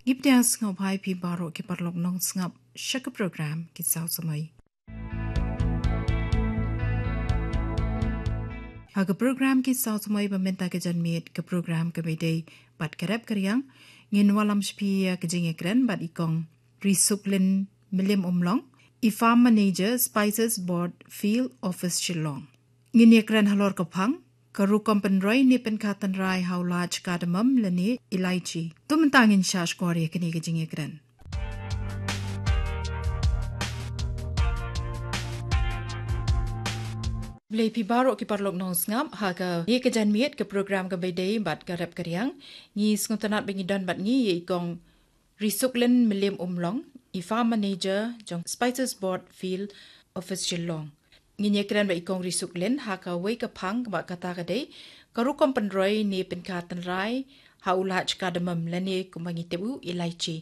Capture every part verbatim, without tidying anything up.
Ngi pdiang sngewbha ïa phi baroh ki paralok nongsngap sha ka program Ki Saw Samoi. Ha ka program Ki Saw Samoi ba mynta ka janmiet, ka program kaba ïadei bad ka rep ka riang, ngin wallam sha phi ïa ka jingïakren bad i Kong Risuklin Mylliem Umlong, i Farm Manager, Spices Board Field Office Shillong. Ngin ïakren halor ka phang, ka rukom pynroi ne pynkha tynrai ha u lad cardamom lane elaichi. To mynta ngin shah shkor ïa kane ka jingïakren. Khublei phi baroh ki paralok nongsngap ha kane ka janmiet, ka program kaba ïadei bad ka rep ka riang. Ngi sngewtynnat ba ngi don bad ngi ïa i Kong Risuklin Mylliem Umlong, i Farm Manager jong Spices Board Field Office Shillong. Ngin ïakren bad i Kong Risuklin ha kawei ka phang, kaba kata ka dei ka rukom pynroi ne pynkha tynrai ha u lad cardamom lane kumba ngi tip u elaichi.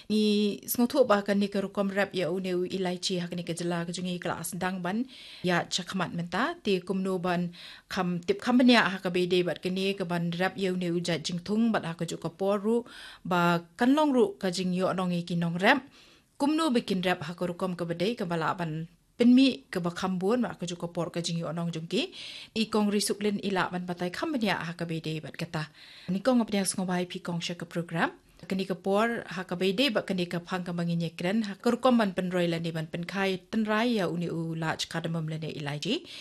Ngi sngewthuh ba kane ka rukom rep ïa une u elaichi ha kane ka jylla ka jong ngi ka la sdang ban ïaid shakhmat mynta, te kumno ban kham tip kham bniah ha kaba ïadei bad kane kaban rep ïa une u jait jingthung bad ha kajuh ka por ruh ba kan long ruh ka jingïohnong ïa ki nongrep kumno ba kin rep ha ka rukom kaba dei kaba lah ban pynmih kaba kham bun bad ha kajuh ka por ka jingïohnong jong ki. I Kong Risuklin i lah ban batai kham bniah ha kaba ïadei bad kata. Nyngkong nga pdiang sngewbha ïa phi Kong sha ka program. Kane ka por ha kaba ïadei bad kane ka phang kaba ngin ïakren ha ka rukom ban pynroi lane ban pynkha tynrai ïa une u lad cardamom lane elaichi.